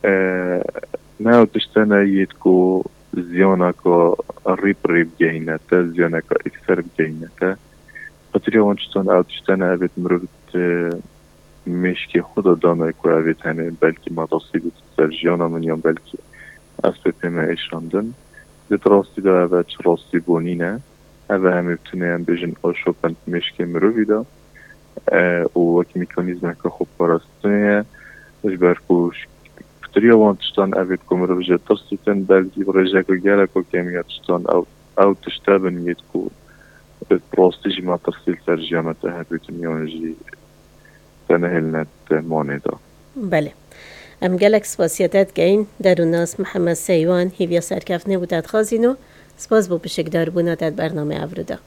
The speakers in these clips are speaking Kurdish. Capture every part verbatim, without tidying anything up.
E, ne ew tiştene yêt ku ziyaneka rîp rî bigehîne te, ziyaneka ekser bigehîne te. Xatirê wan tiştan ew tiştene evêt mirov di mêşkê xwe de dane ku evêt hene belkî matasî bû ser jiyana min yan belkî ez pê pê me êşandin. Di rastî de ev e çi rastî bû nîne. Ev e hemê bitinê em bêjin aşopin mêşkê mirovî de. E, û wek mekanîzmeke xweparastinê ye. Ji ber ku pitriya wan tiştan evêt ku mirov jê tirsîtin, belkî bi rêjeke geleko kêm ya tiştan ew, ew tişte bin yêt ku bi rastî jî metirsî li ser jiyana te hebîtin yan jî te nehêline te manê de. Belê. Em gelek spasiya te dikeyin. Derûnas Mihemed Seywan, hêviya serkeftinê bû te dixwazîn û spas bo pişikdarbûna te di bernamê evro de.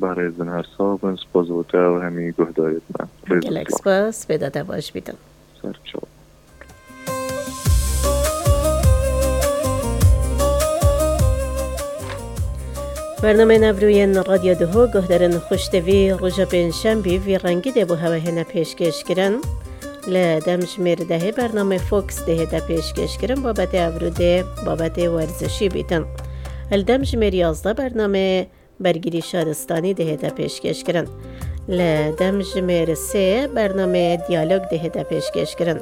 Berêzin her sax bin, spas bo te û hemî guhdarêt me. Rêz û Gelek spas, spêda te baş bîtin. Ser çav. Bernameyên evroyên Radyo Duho guhdarên xweş tevî roja pêncşembî vî rengî dê bo hewe hêne pêşkêş kirin. Li dem ji mêr dehê bernamê Fox dê hête pêşkêş kirin, babetê evro dê babetê werzişî bîtin. Li dem ji mêr yazdeh bernamê Bergirî Şaristanî dê hête pêşkêş kirin. Li dem ji mêr sê bernamê Diyalog dê hête pêşkêş kirin.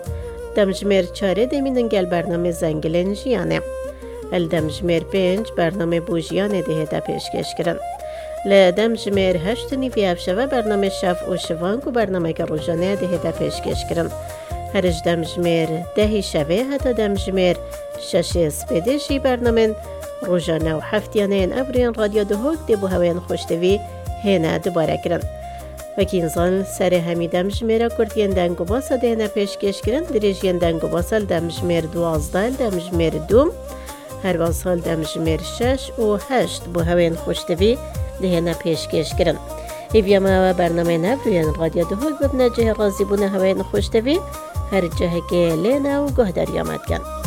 Dem ji mêr çarê dê mînin gel bernamê Zengilên Jiyanê. Li dem ji mêr pênc bernamê Bûjiyanê dê hête pêşkêş kirin. Li dem ji mêr heşt û nîvî ev şeve bernamê Şev û Şivan ku bernameke rojane ye dê hête pêşkêş kirin. Her ji dem ji mêr dehî şevê heta dem ji mêr şeşê spêdê jî bernamên rojane û heftiyaneyên evrên Radyo Duhok dê bo hewên xweştevî hêne dubare kirin. Wekî nizan serê hemî dem ji mêra kurt yên deng û basa dê hêne pêşkêş kirin, dirêjiyên deng û basa li dem ji mêr duwazdeh, li dem ji mêr du, her wesa li dem ji mêr şeş û heşt bo hewên xweştevî dê hêne pêşkêş kirin. Hêviya me ew e bernameyên evrên Radyo Duhok bibine cihê razîbûna hewên xweştevî her cihekê lê ne û guhdariya me dikin.